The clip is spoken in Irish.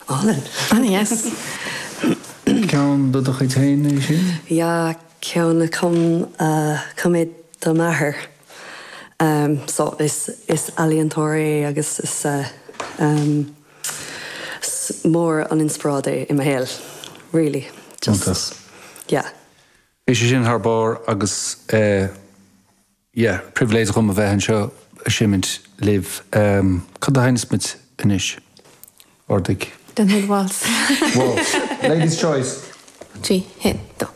Álainn. An-dheas. Ceann de do chuid féin é sin? Yeah, ceann a chum chum mé do m'athair. So is is ealaíontóir é agus is is mór an inspioráid é i mo shaol. Really. Just. Yeah. Bhí sé sin thar barr agus yeah, pribhléid dhom a bheith anseo ag seimint libh. Cad a sheinneas muid anois? Ordaigh. Déanfaidh waltz. Waltz. Ladies' choice. 3, 1, 2.